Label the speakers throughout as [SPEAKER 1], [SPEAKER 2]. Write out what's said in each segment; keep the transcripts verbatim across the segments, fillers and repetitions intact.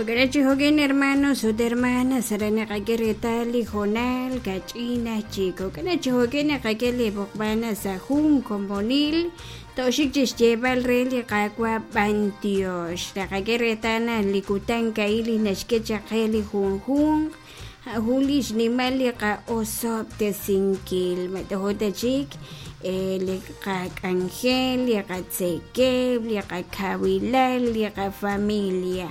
[SPEAKER 1] Jo'kan chi jo'kan hermanos ut hermanas aran naqak'e reetal li hoonal kach'in aj chik jo'kan chi jo'kan naqak'e li b'oqb'al sa' jun komonil toxik chi xyeeb'al re li Qaawa' b'antiox naqak'e reetal naq li kutan ka'in li naxk'e chaq qe li junjunq jun li xnimal li qa'osob'tesinkil matojo ta chik li qak'anjel li qatzekeb' li qakawilal li qafamilia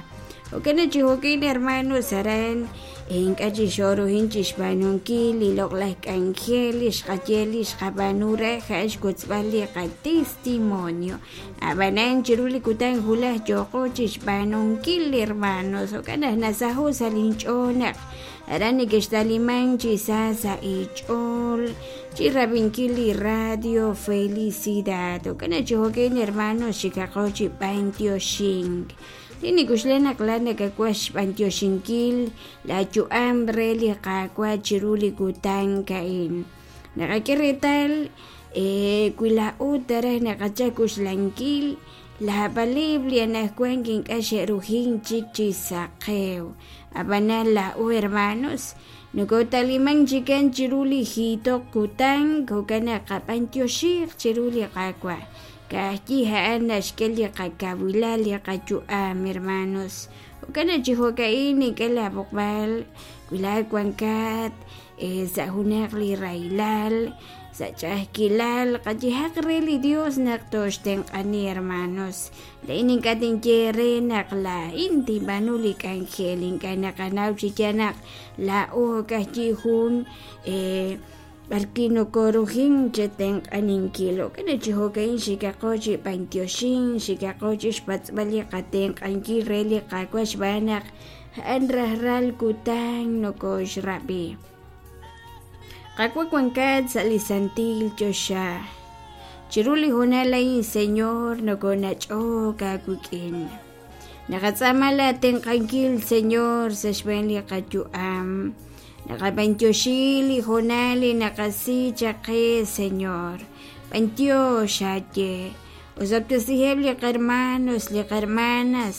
[SPEAKER 1] jo'kan chi jo'kan hermanos aran ink'a' chi xoruhin chi xb'aanunkil li loq'laj k'anjel li xqaye li xqab'aanu re ja'an xwotzb'al li qatestimonio ab'anan chiru li kutan wulaj yooqo chi xb'aanunkil hermanos jo'kan naq nasaho' sa' linch'ool naq aran nekextaliman chi sa sa' ich'ool chi rab'inkil li radio Felicidad jo'kan chi jo'kan hermanos xikaqo chi b'antioxink Tinikuxle naq la nakak'uaj xb'antioxinkil la yu'am re li Qaawa' chiru li kutan ka'in naqak'e reetal wi laa'ut raj naqachak uxlankil laab'aleb' li anajwan ink'a' xe'rujin chik chi saqew ab'anan laa'u hermanos nokotaliman chikan chiru li jiitoq kutan jo'kan naq qab'antioxiq chiru li Qaawa' ka'ajyi ja'an naxk'e li qakawilal li qayu'am hermanos jo'kan chi jo'ka'in nink'e la b'oqb'al wi laa'at wankat sa' junaq li rahilal sa' ch'a'ajkilal qayehaq re li Dios naq toxtenq'ani hermanos laa'in ink'a' tinye re naq laa'in tinb'aanu li k'anjel ink'a' naqanaw chi yaal naq laa'o ka'ajyi jun b'arwi' nokorujin chetenq'aninkil jo'kan chi jo'ka'in xikaqo chi b'antioxin xikaqo chi xpatz'b'al li qatenq'ankil re li Qaawa' xb'aan naq ja'an rajlal kutan nokoxrab'i Qaawa' wankat sa' li santil choxa chiru li hoonal a'in Señor nokonach'ok aawik'in naqatz'aama la tenq'ankil Señor sa' xb'een li qayu'am naqab'antioxi li hoonal li naqasi chaq qe Señor b'antiox aaye osob'tesiheb' li qarmanos li qarmanas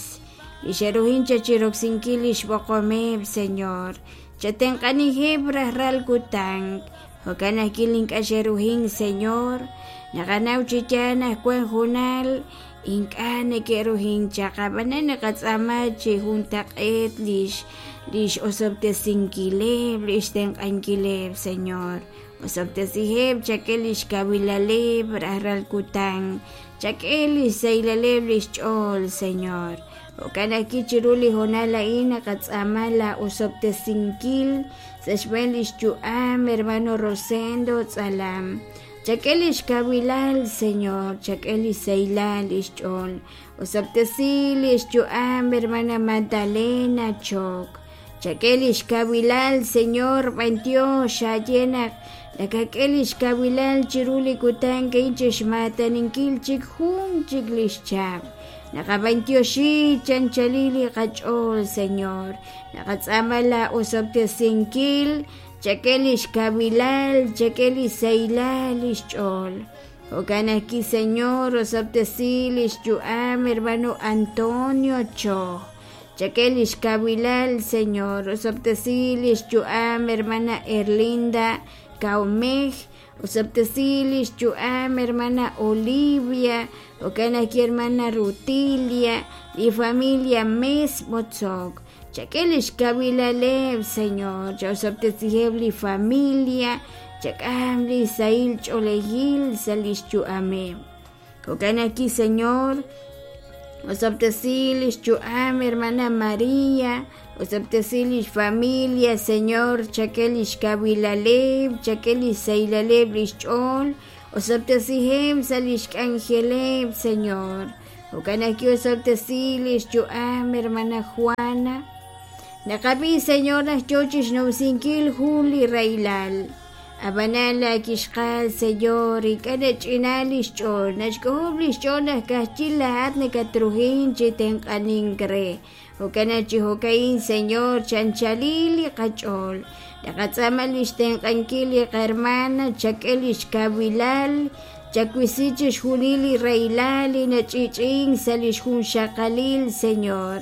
[SPEAKER 1] li xe'rujin chaq chiroksinkil li xb'oqomeb' Señor chatenq'anijeb' rajlal kutan jo'kan ajwi' ink'a' xe'rujin Señor naqanaw chi yaal naq wan hoonal ink'a' neke'rujin chaq ab'anan naqatz'aama chi juntaq'eet lix lix osob'tesinkileb' lix tenq'ankileb' Señor osob'tesiheb' chak'e lix kawilaleb' rajlal kutan chak'e lix sahilal lix ch'ool Señor jo'kan ajwi' chiru li hoonal a'in naqatz'aama la osob'tesinkil sa' xb'een lix yu'am hermano Rosendo Tz'alam chak'e lix kawilal Señor chak'e lix sahilal lix ch'ool osob'tesi lix yu'am hermana Magdalena Chok chak'e lix kawilal Señor b'antiox aaye naq nakak'e lix kawilal chiru li kutan ka'in chixmaataninkil chik jun chik lix chab' naqab'antioxi chanchali li qach'ool Señor naqatz'aama la osob'tesinkil chak'e lix kawilal chak'e lix sahilal lix ch'ool jo'kan ajwi' Señor osob'tesi lix yu'am hermano Antonio Cho chak'e lix kawilal Señor osob'tesi lix yu'am hermana Erlinda Kaumej osob'tesi lix yu'am hermana Olivia jo'kan ajwi' hermana Rutilia li familia Mes Botzok chak'e lix kawilaleb' Señor chaosob'tesiheb' li familia chak'am li sahil ch'oolejil sa' lix yu'ameb' jo'kan ajwi' Señor osob'tesi lix yu'am hermana María osob'tesi lix familia Señor chak'e lix kawilaleb' chak'e lix sahilaleb' lix ch'ool osob'tesiheb' sa' lix k'anjeleb' Señor jo'kan ajwi' osob'tesi lix yu'am hermana Juana naqab'i Señor naq yoo chixnumsinkil jun li rahilal ab'anan la kixqal Señor ink'a' nach'ina lix ch'ool naxk'ojob' lix ch'ool naq ka'ajyi laa'at nakatrujin chi tenq'anink re jo'kan chi jo'ka'in Señor chanchali li qach'ool naqatz'aama lix tenq'ankil li qarmana chak'e lix kawilal chakwisi chixjunil li rahilal li nach'ich'in sa' lix junxaqalil Señor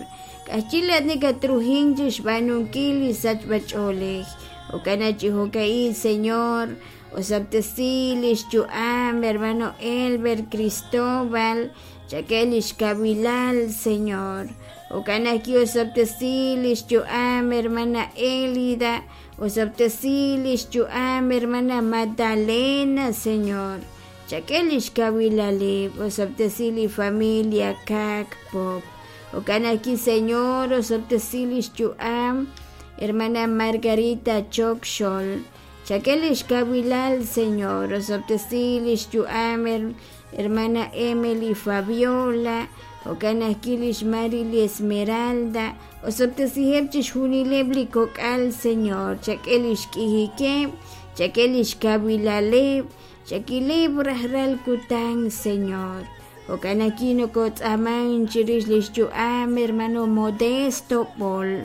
[SPEAKER 1] K'ajchil laat nakatrujink chi xb'aanunkil li sachb'ach'oolej. Jo'kan chi jo'ka'in, Señor, osob'tesi lix yu'am hermano Elber Cristóbal, chak'e lix kawilal, Señor. Jo'kan ajwi' osob'tesi lix yu'am hermana Elida, osob'tesi lix yu'am hermana Magdalena, Señor. Chak'e lix kawilaleb', osob'tesi li familia Kak Pop. Jo'kan ajwi', Señor, osob'tesi lix yu'am hermana Margarita Chokxol. Chak'e lix kawilal, Señor, osob'tesi lix yu'am hermana Emily Fabiola. Jo'kan ajwi' lix Marily Esmeralda. Osob'tesiheb' chixjunileb' li kok'al, Señor. Chak'e lix k'ijikeb', chak'e lix kawilaleb', chakileb' rajlal kutan, Señor. Jo'kan ajwi' nokotz'aaman chirix lix yu'am hermano Modesto Bol.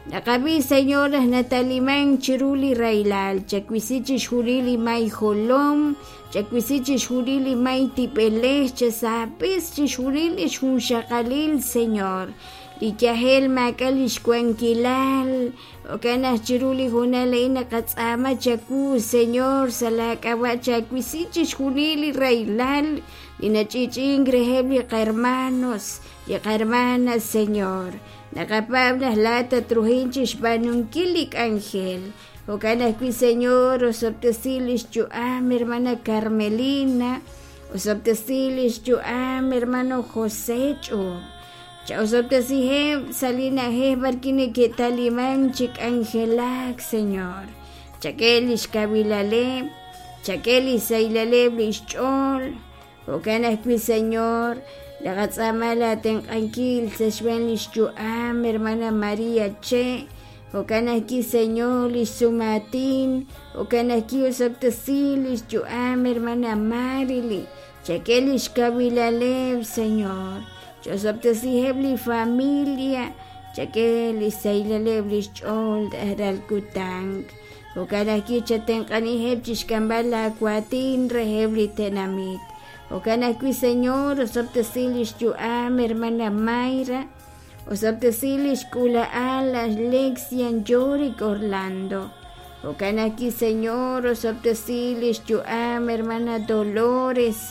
[SPEAKER 1] Naqab'i, Señor, naq nataliman chiru li rahilal, chawisi chixjunil li may jolom, chawisi chixjunil li may tib'elej, chasaapis chixjunil lix junxaqalil, Señor. Li yajel maak'a' lix wankilal, jo'kan naq chiru li hoonal a'in naqatz'aama chawu, Señor, sa' laak'ab'a' chawisi chixjunil li rahilal li nach'i'ch'i'ink reheb' li qahermanos, li qahermanas, Señor. Naqapaab' naq laat tatrujin chixb'aanunkil li k'anjel. Jo'kan ajwi', Señor, osob'tesi lix yu'am hermana Carmelina, osob'tesi lix yu'am hermano José Ch'ub. Cha'osob'tesiheb' sa' li na'ajej b'arwi' neke'taliman chi k'anjelak, Señor. Chak'e lix kawilaleb', chak'e li saylaleb' lix ch'ool. Jo'kan ajwi', Señor, naqatz'aama laatenq'ankil sa' xb'een lix yu'am hermana María Che. Jo'kan ajwi', Señor, lix sumaatin. Jo'kan ajwi' osob'tesi lix yu'am hermana Marily. Chak'e lix kawilaleb', Señor. Ch'osob'tesiheb' li familia, chak'e li saylaleb' lix ch'ool rajlal kutan. Jo'kan ajwi' chatenq'aniheb' chixk'amb'al laawatin reheb' li tenamit. Jo'kan ajwi', Señor, osob'tesi lix yu'am hermana Mayra, osob'tesi lix k'uula'al Alexian Yorick Orlando. Jo'kan ajwi', Señor, osob'tesi lix yu'am hermana Dolores.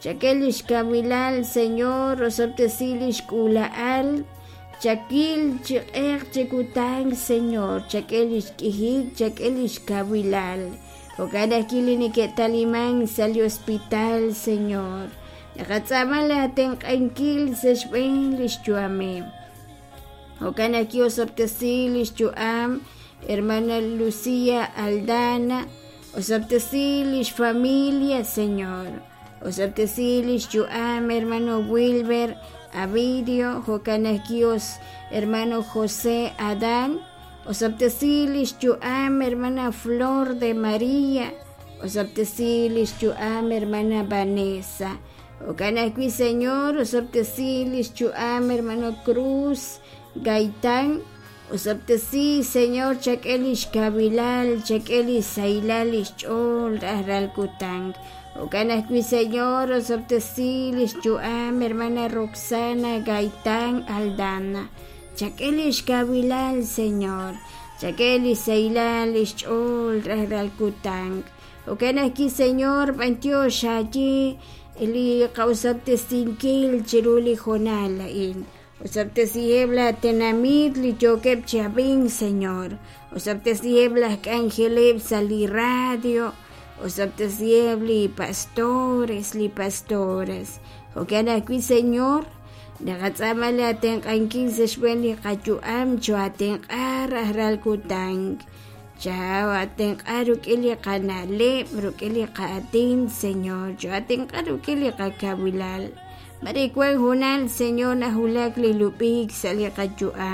[SPEAKER 1] Chak'e lix kawilal, Señor, osob'tesi lix k'uula'al. Chakil chi q'eq chi kutan, Señor, chak'e lix k'ijik, chak'e lix kawilal. Jo'kan ajwi' li neke'taliman sa' li hospital, Señor. Naqatz'aama laatenq'ankil sa' xb'een lix yu'ameb'. Jo'kan ajwi' osob'tesi lix yu'am hermana Lucía Aldana, osob'tesi lix familia, Señor. Osob'tesi lix yu'am hermano Wilber Avidio, jo'kan ajwi' hermano José Adán, osob'tesi lix yu'am hermana Flor de María, osob'tesi lix yu'am hermana Vanessa. Jo'kan ajwi', Señor, osob'tesi lix yu'am hermano Cruz Gaitán, osob'tesi, Señor, chak'e lix kawilal, chak'e lix saylal lix ch'ool rajlal kutan. Jo'kan ajwi', Señor, osob'tesi lix yu'am hermana Roxana Gaitán Aldana. Chak'e lix kawilal, Señor. Chak'e lix saylal lix ch'ool rajlal kutan. Jo'kan ajwi', Señor, b'antiox xaye li qa'osob'tesinkil chiru li hoonal a'in. Osob'tesiheb' la tenamit li yookeb' chi ab'ink, Señor. Osob'tesiheb' laj k'anjeleb' sa' li radio. Osob'tesiheb' li pastores, li pastoras. Jo'kan ajwi', Señor, naqatz'aama laatenq'ankil sa' xb'een li qayu'am choatenq'a rajlal kutan. Choatenq'a rik'in li qana'leb', rik'in li qaatin, Señor. Choatenq'a rik'in li qakawilal. Mare wan hoonal, Señor, najulak li lub'ik sa' li qayu'am.